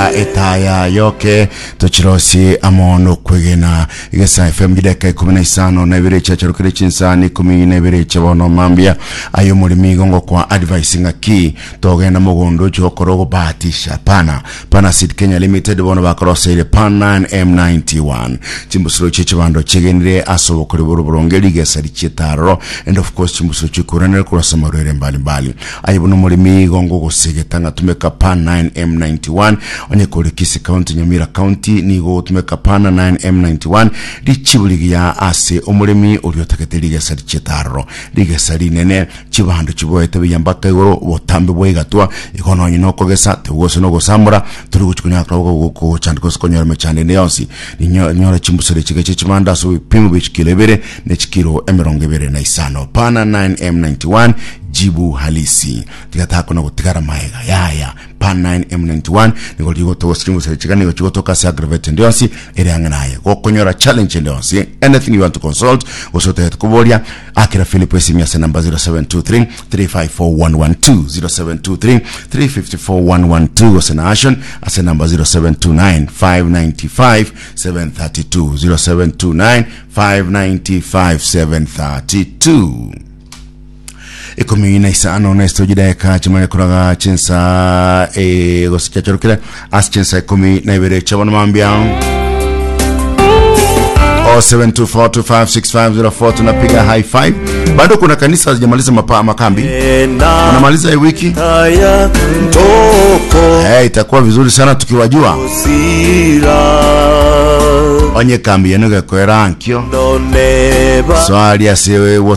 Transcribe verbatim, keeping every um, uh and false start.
Aka etaya yoke tochirosi amo nokwegena Igesa F M gideka ikumi na isano na ibere chiacharokire chinsani ikumi na ibere chiabono mambia ayo omoremi igo kwa advice ng'aki togenda mogondo chigokora ogobahatisha pana Pana Seed Kenya Limited bono bakoroseire Pan nine M ninety-one chimbusuro chie chibando chigenire ase obokori boro boronge rigesa richietaroro and of course chimbusuro chikuranire kurasa marwere mbalimbali aye buno omoremi igo ngogosegeta ng'atumeka Pan nine M ninety-one onye kore Kisii County, Nyamira County nigo gotumeka Pan nine M ninety-one richiburigia ase omoremi ori otagete rigesa richietaroro rigesa rinene chibando chiboete biyambaka igoro botambe bwaigatwa igo nonye nokogesa tebugose nogosamora turi gochikunyakora gochanda gose konyora mechando ende yonsi ninyora chimbusuro chigeche chibando ase ebipimo bia chikilo ibere ne chikilo emirongo ibere na isano. Pana nine M ninety-one jibu halisi tigatako na gotigara maega yaya Pan nine M ninety-one nigo rigotogosa chimbusuro chiga nigo chigotoka ase aggravate ende yonsi ere ang'e naye gokonyora challenge ende yonsi anything you want to consult gose otagete koboria akira Philip esimu ase number zero seven two three three five four one one two zero seven two three three fifty four one one two gose na Ashon ase number zero seven two nine five ninety five seven thirty two zero seven two nine five ninety five seven thirty two. Ikumi na isano na esto jideka chimane kuraga chinsa e gose chachorokire ase chinsa ikumi na ibere chabona mambia oh seven two four two five six five zero four tunapiga high five. Bado kuna kanisa hazijamaliza mapa makambi. Wanamaliza hii wiki. Eh, itakuwa vizuri sana tukiwajua. Onye kambi yenu gekwera ankio. Swali asiwe